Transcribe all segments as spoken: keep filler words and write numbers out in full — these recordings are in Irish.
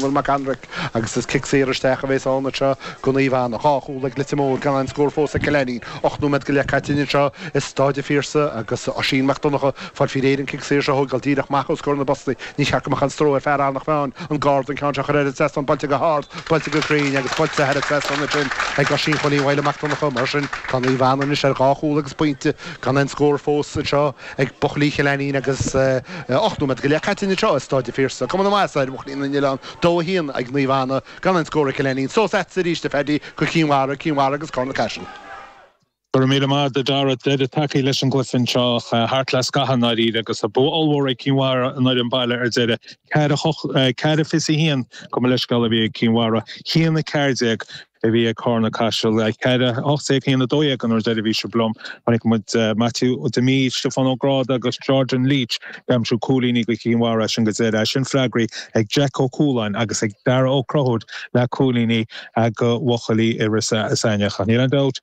Dónal Mac an Raic agus is cic saor isteach a bheas ann anseo go Naomh Anna. Dhá chúl ag Leitir Móir gan aon scór fós ag Cill Ainnín. Ocht nóiméad go leith caite anseo i Stáid an Phiarsaigh agus Oisín Mac Donncha fáil faoi réir an cic saor seo a thógáil díreach amach os comhair na bpostaí. Ní cheart go mbeadh aon stró ar fear Eanach Mheáin an garda an ceann seo a chur thar an trasnán buailte go hard, buailte go cruinn agus buailte thar an trasnán ansin ag Oisín Chóilín Mhaidhle Mac Donncha. Mar sin tá Naomh Anna anois ar dhá chúl agus pointe gan aon scór fós anseo ag buachaillí Chill Ainnín agus ocht nóiméad go leith caite anseo i Stáid an Phiarsaigh. Cuma na maitheasa ar bhuachaillí na nOileán, dó a haon ag Naomh Anna gan aon scór ag Cill Ainnín. Suas agatsa arís a Phaddy go Cinn Mhara, Cinn Mhara agus Carna Caiseal. Go raibh míle maith agat a Dara deireadh tagtha leis an gcluiche anseo thart le scaitheamh i ndáiríre agus bua ollmhór ag Cinn Mhara an fhoireann baile ar deireadh ceathair fiche a haon gabh mo leithscéal a bhí ag Cinn Mhara haon a ceathair déag a bhí ag Carna Caiseal ceathair hocht déag haon a dó dhéag an uair deiridh a bhí sibh liom. Chonaic muid Matthew Demee, Stiofán Ó Gráda agus Jordan Leach ag aimsiú cúilíní go Cinn Mhara sin go deireadh sin freagraí ag Jack Ó Cualáin agus ag Dara Ó Crothúir le cúilíní go bhuachaillí Iorras Aithneach. Níl aon dabht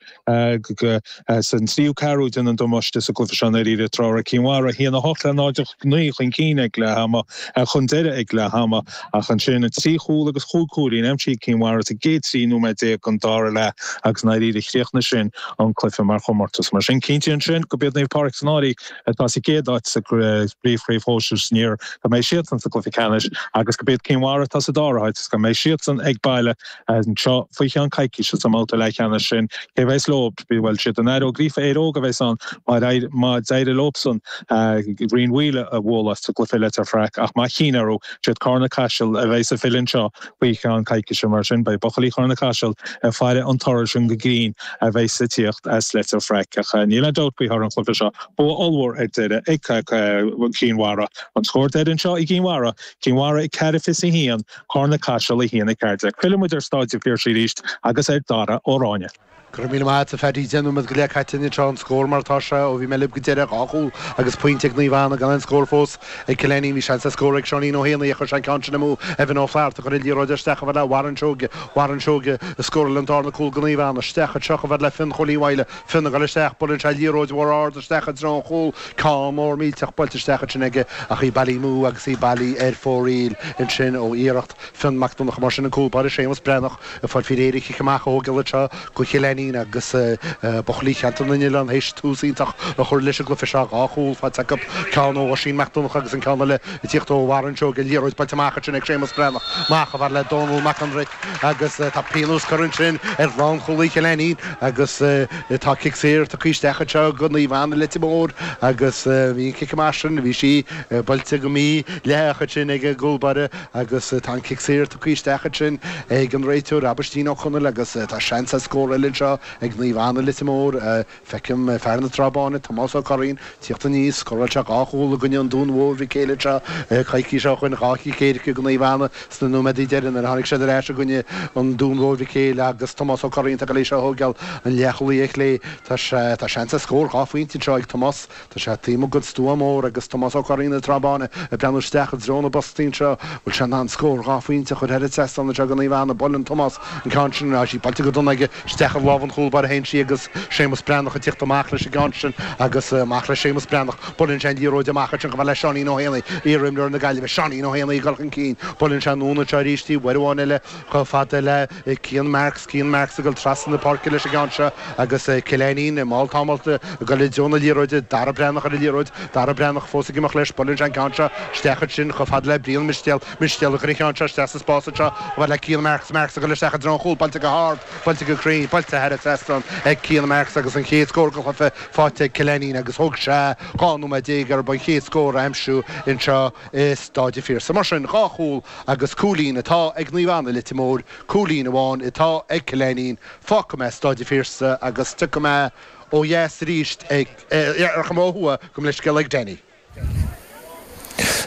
san tríú ceathrú déanadh an damáiste sa gcluiche seo i dtreo Cinn Mhara haon a hocht le náid naoi chun cinn ag leath ama chun deireadh ag leath ama ach ansin trí chúl agus chúig chúilín aimsithe ag Cinn Mhara sa gcéad trí nóiméad déag an dara leath agus náiríre chríochnaigh sin an cluiche mar chomórtas. Mar sin cinnte ansin go b'iad Naomh Pádraig San Áirí atá sa gcéad áit sa bpríomhchraobh shóisir san iar go mbeidh siadsan sa gcluiche ceannais agus go b'iad Cinn Mhara atá sa dara háit go mbeidh siadsan ag baile anseo faoi cheann coicíse sa mbabhta leathcheannais sin cé bheas leo bhfuil siad an Éire Ó Gríofa Éire Óg a bheas ann má d'éirigh leosan Rinn Mhaoile a bhualadh sa gcluiche Leitir Fraic ach má chinn orthu siad Carna Caiseal a bheas ag filleadh anseo faoi cheann coicíse mar sin beidh buachaillí Charna Caiseal ag faire an toradh sin go grinn a bheas ag tíocht as Leitir Fraic ach níl aon dabht faoi thoradh an chluiche seo bua ollmhór ar deireadh ag Cinn Mhara an scór deiridh anseo i gCinn Mhara Cinn Mhara ag ceathair fiche a haon Carna Caiseal a haon a ceathair déag. Filleann muid ar Stáid an Phiarsaigh arís agus ar Dara Ó Ráinne. Go raibh míle maith agat a Phaddy deich nóiméad go leith caite anseo an scór mar atá sé ó bhí mé libh go deireadh dhá chúl agus pointe ag Naomh Anna gan aon scór fós ag Cill Ainnín bhí seans ar scór ag Seáinín Ó hÉanaí a chuir sé an ceann sin amú Evan Ó Flatharta chuir an liathróid isteach a fhad le Warren Seoige Warren Seoige a scóráil an darna cúl go Naomh Anna isteach anseo a fhad le Fionn Chóilín Mhaidhle Fionn ag dul isteach buaileann sé liathróid mhór ard isteach i dtreo an chúil ceann mór millteach buailte isteach ansin aige ach í bailithe amú agus í bailithe ar fóraoil ansin ó iarracht Fionn Mac Donncha mar sin an cúl báire Séamus Breathnach ag fáil faoi réir an chic amach a thógáil anseo go Chill Ainnín agus buachaillí Cheantar na nOileán théis tús iontach a chur leis an gcluiche seo dhá chúl faighte acu ceann ó Oisín Mac Donncha agus an ceann eile ag tíocht ó Warren Seoige liathróid buailte amach ansin ag Séamus Breathnach amach a fhad le Dónal Mac an Raic agus tá pionós curtha ansin ar lánchúlaí Chill Ainnín agus tá cic saor tugtha isteach anseo go Naomh Anna Leitir Móir agus bhí an cic amach sin bhí sí buailte go mídhleathach ansin ag an gcúl báire agus tá an cic saor tugtha isteach ansin ag an réiteoir Aibhistín Ó Conaill agus tá seans ar scór eile anseo ag Naomh Anna Leitir Móir feicim fear na Trá Báine Tomás Ó Curraoin tíocht aníos scóráil sé dhá chúl i gcoinne an Dúin Mhóir Mhic Éil anseo coicís ó shin dhá chic éirice go Naomh Anna sna nóiméadaí deireanacha nuair a tháinig siad ar ais i gcoinne an Dúin Mhóir Mhic Éil agus Tomás Ó Curraoin tá go léir seo a thógáil an leathchúlaí ar chlé tá sé tá seans ar scór dhá phointe anseo ag Tomás Tá sé taobh amuigh den stua mór agus Tomás Ó Curraoin na Trá Báine ag breathnú isteach i dtreo na bpostaí anseo bhfuil sé in ann scór dhá phointe a chur thar an trasnán anseo go Naomh Anna buaileann Tomás an ceann sin tá sí buailte go dona aige isteach i lámh an chúl báire a théann sí agus Séamus Breathnach ag tíocht amach leis an gceann sin agus amach le Séamus Breathnach buaileann sé an liathróid amach ansin chomh fada le Seáinín Ó hÉanaí iarimreoir na Gaillimhe Seáinín Ó hÉanaí ag dul chun cinn buaileann sé anonn anseo arís í uair amháin eile chomh fada le Cian Marks Cian Marks ag dul trasna na páirce leis an gceann seo agus Cill Ainnín i mball tamalt ag dul i dtreo na liathróide Dara Breathnach ar an liathróid Dara Breathnach fós ag imeacht leis buaileann sé an ceann seo isteach ansin chomh fada le Brian Mistéal Mistéal ag cur an ceann seo isteach sa spás anseo chomh fada le Cian Marks Marks ag dul isteach i dtreo an chúil buailte go hard buailte go cruinn buailte thar an trasnán ag Cian Marks agus an chéad scór den chluiche faighte ag Cill Ainnín agus thóg sé dhá nóiméad déag orthu an chéad scór a aimsiú anseo i Stáid an Phiarsaigh. Mar sin dhá chúl agus cúilín atá ag Naomh Anna Leitir Móir, cúilín amháin atá ag Cill Ainnín, fágfaidh mé Stáid an Phiarsaigh agus tiocfaidh mé ó dheas arís ag rachaidh mé ó thuaidh gabh mo leithscéal ag Danny.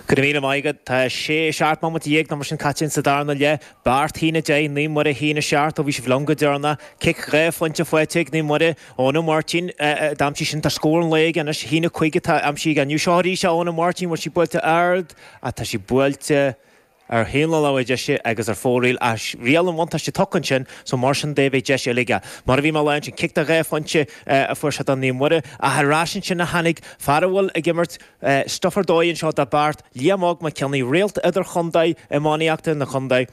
Go raibh míle maith agat. Tá sé seacht mbomaite dhéag nó mar sin caite sa darna leath. Beart a haon a deich, Naomh Muire a haon a seacht ó bhí sibh liom go deireanach. Cic dhá phointe faighte ag Naomh Muire. Eoin Ó Máirtín d'aimsigh sin tá scór an lae aige anois a haon a cúig atá aimsithe aige inniu. Seo arís é Eoin Ó Máirtín bhfuil sí buailte ard ach tá sí buailte ar thaobh na láimhe deise agus ar fóraoil ach riail an bhuntáiste tugtha ansin so mar sin de beidh deis eile aige. Mar a bhí mé ag rá ansin cic de dhá phointe a fuair sé do Naomh Muire ach ar ais ansin a tháinig fear a bhfuil ag imirt stuif ar dóigh anseo do Beart, Liam Óg Mac Cionnaith, réalt idirchontae iománaíochta na contae.